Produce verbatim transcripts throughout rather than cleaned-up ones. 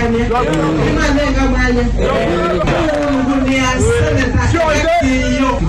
Nĩmanenga mwanya. Ũngunĩa seneta. Iyo.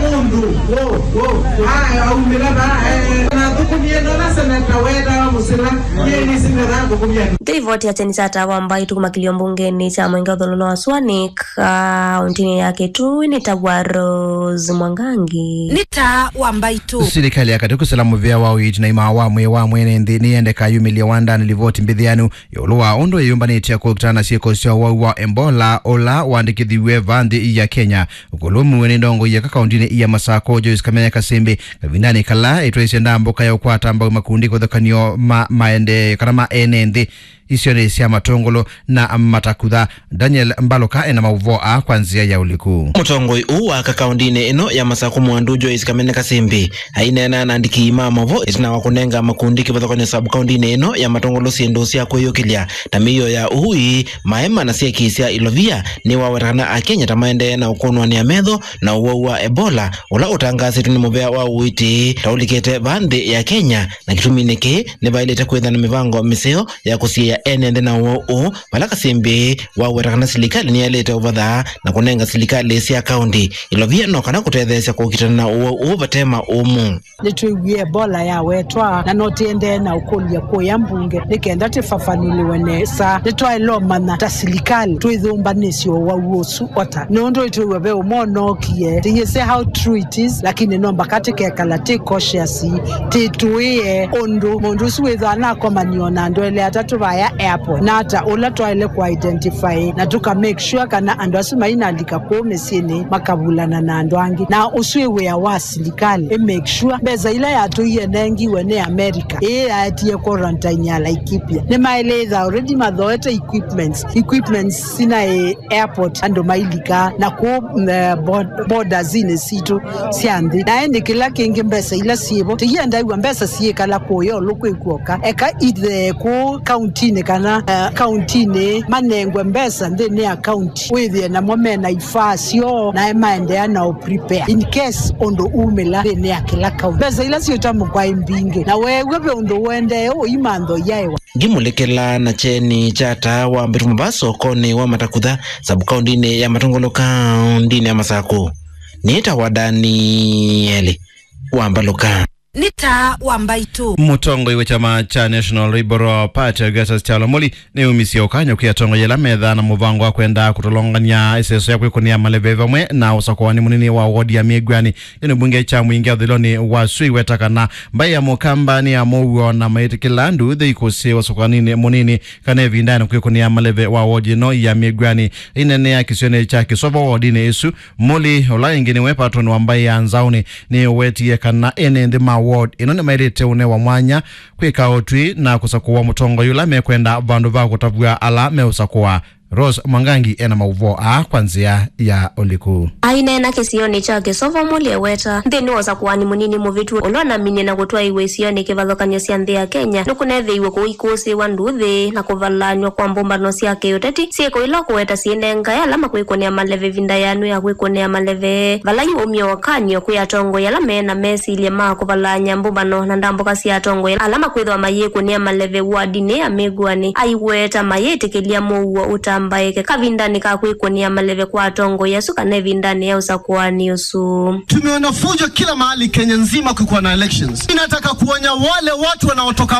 Mũndũ. Wo, wo. Aya, aumĩla va, eh, nathũkũmie nona seneta wetawa Mũsila. Yeni seneta thũkũmia. Nĩ ivoti ya kyeni kya Taa wa Mbaitũ kuma kĩlio mbungenĩ kya Mwenge ũthũlũlo wa Swanik, kaũntĩnĩ ya Kitui nĩ ta wa Rose Mwangangi. Nĩ Taa wa Mbaitũ. Silikalĩ ya katĩ kũsila mũvĩa wa ũiiti na imaa wa mwĩĩ wa mwene nthĩ nĩyendeka yumĩlye wandanĩ livoti mbĩthĩanu ĩũlũ wa ũndũ ĩyũmbanĩtye kũkitana na syĩko sya ũwau wa Ebola ũla wandĩkĩthiw'e vaa nthĩ ya Kenya. Ũkũlũ mũue nĩ ndongoi ya kaũntĩnĩ ya Masakũ, Joyce Kamenya Kasimbi, kavindanĩ kala ĩtwaisye ndambũka ya ũkwata mbau makundi kĩvathũkany'o ma maendeeo kana ma ene nthĩ isionĩ sya Matũngũlũ na Matakutha. Daniel Mbaluka ena maũvoo aa kwa nzĩa ya ũliku. Mũtongoi ũũ wa aka kaũntĩnĩ ĩno ya Masakũ Mwandu Joyce Kamene Kasimbi aineena na andĩki ma maũvoo ĩtina wa kũnenga makundi kĩvathũkany'o sub kaũntĩnĩ ĩno ya Matũngũlũ syĩndũ sya kwĩyũkĩlya ta mĩio ya ũui, maema na syeki sya ilovia. Nĩwaweta kana Akenya ta maendee na ũkũnwanĩa metho na ũwau wa Ebola ũla ũtangaasĩtwe nĩ mũvĩa wa ũiiti ta ũlikĩte vaa nthĩ ya Kenya, na kĩtuminĩ kĩĩ nĩvaĩlĩte kwĩthwa na mĩvango mĩseo ya kũsiĩĩa ene nthĩ na ũwau ũũ, vala Kasimbi waweta kana silikalĩ nĩyaĩlĩte ũvatha na kũnenga silikalĩ sya kaũntĩ ilovia no kana kũtetheesya kũkitana na ũwau ũũ vate maũmũ. Nĩtwĩwie Ebola yawetwa, na no tĩendee na ũkũlya kũya mbunge nĩ kenda tĩfafanũlĩwe nesa. Nĩtwaĩle ũmanya ta silikalĩ twĩthũmbanĩsye ũwau ũsu ota, nũndũ ĩtwĩw'a ve ũmwe ũnookie. Tĩyĩsĩ how true it is, lakini no mbaka tĩkekala tĩ cautious, tĩtũĩe ũndũ mũndũ ũsu wĩthwa anakomanio na andũ elĩ atatũ vaya airport, na ata ũla twaĩle kũ identify na tũka make sure kana andũ asu mainalika kũu mĩsyĩnĩ makavulana na andũ angĩ. Na ũsu wĩ wĩa wa silikalĩ ĩ make sure mbesa ila yatũie nengiwe nĩ America, ĩĩ yaetie quarantine ya Laikipia, nĩmaĩlĩtha already mathoete equipments, equipments sinaĩ airport andũ mailika na kũu, mm, eh, bod-, bordersinĩ sitũ sya nthĩ. Na ĩndĩ kĩla kĩngĩ mbesa ila syĩvo, tĩiendaĩw'a mbesa syĩkala kũya ũlũ kwĩ kuoka. Eka ithe kũu kauntinĩ kana, eh, kauntinĩ manengwe mbesa nthĩnĩ ya kaunti, wĩthĩe namo mena ifaa syoo nae maendeea na ũ prepare in case ũndũ umĩla nthĩnĩ ya kĩla kaunti. Mbesa ila syũtamũkwa ĩ mbingĩ, na weew'a ve ũndũ ũendee ũimantho yaĩwa. Ngimũlĩkĩla na kyeni kya Taa wa Mbaitũ mava sokonĩ wa Matakutha, sub-kaũntĩnĩ ya Matũngũlũ, kaũntĩnĩ ya Masakũ. Nĩtawa Danieli wa Mbaluka. Nĩ Taa wa Mbaitũ. Mũtongoi wa kyama kya National Liberal Party, Augustus Kyalo Muli, nĩumisye ũkany'o kwĩ atongoi ala methaa na mũvango wa kwenda kũtolongany'a ĩseso ya kwĩkũnĩa maleve vamwe na ũsakũani mũnini wa wodi ya Mĩngwani. Kĩnĩ mbunge kya mũingĩ ũthũlũlonĩ wa Sui weta kana mbaĩ ya Mũkamba nĩ ya mũuo na maĩtĩkĩla nduthĩ ikũsĩ ũsakũaninĩ mũnini kana ĩvindanĩ kwĩkũnĩa maleve wa wodi ĩno ya Mĩngwani. Aineenea kĩsionĩ kya Kĩsovo wodinĩ ĩsu, Muli, ũla ĩngĩ nĩwe patron wa mbaĩ ya Nzaũnĩ, nĩwetie kana ene nthĩ ma ward ĩno nĩmaĩlĩte ũnewa mwanya kwĩka ũtwi na kũsakũa mũtongoi ũla mekwenda vandũ va kũtavw'a ala meũsakũa. Rose Mwangangi ena maũvoo aa kwa nzĩa ya ũliku. Aineena kĩsionĩ kya Kĩsovo, Muli eweta nthĩnĩ wa ũsakũani mũnini mũvĩtu ũla ũnaminie na kũtwaĩw'a isionĩ kĩvathũkany'o sya nthĩ ya Kenya, nĩkũneethĩiwe kũikũsĩĩwa nduthĩ na kũvalaanywa kwa mbũmbano sya kĩũteti, syĩko ila ũkũweta syĩnengae ala makwĩkũnĩa maleve ĩvinda yanu ya kwĩkũnĩa maleve, vala yu waumya ũkany'o kwĩ atongoi ala me na mesilya ma kũvalaany'a mbũmbano na ndambũka sya atongoi ala makwĩthĩwa mayĩkũnĩa maleve wardinĩ ya Mĩngwani. Aiweta mayĩtĩkĩlya mũuo ũtambaĩke kavindanĩ ka kwĩkũnĩa maleve kwa atongoi asu kana ĩvindanĩ ya ũsakũani ũsu. Tumeona fujo kila mahali Kenya nzima kukiwa na elections. Ninataka kuonya wale watu wanaotoka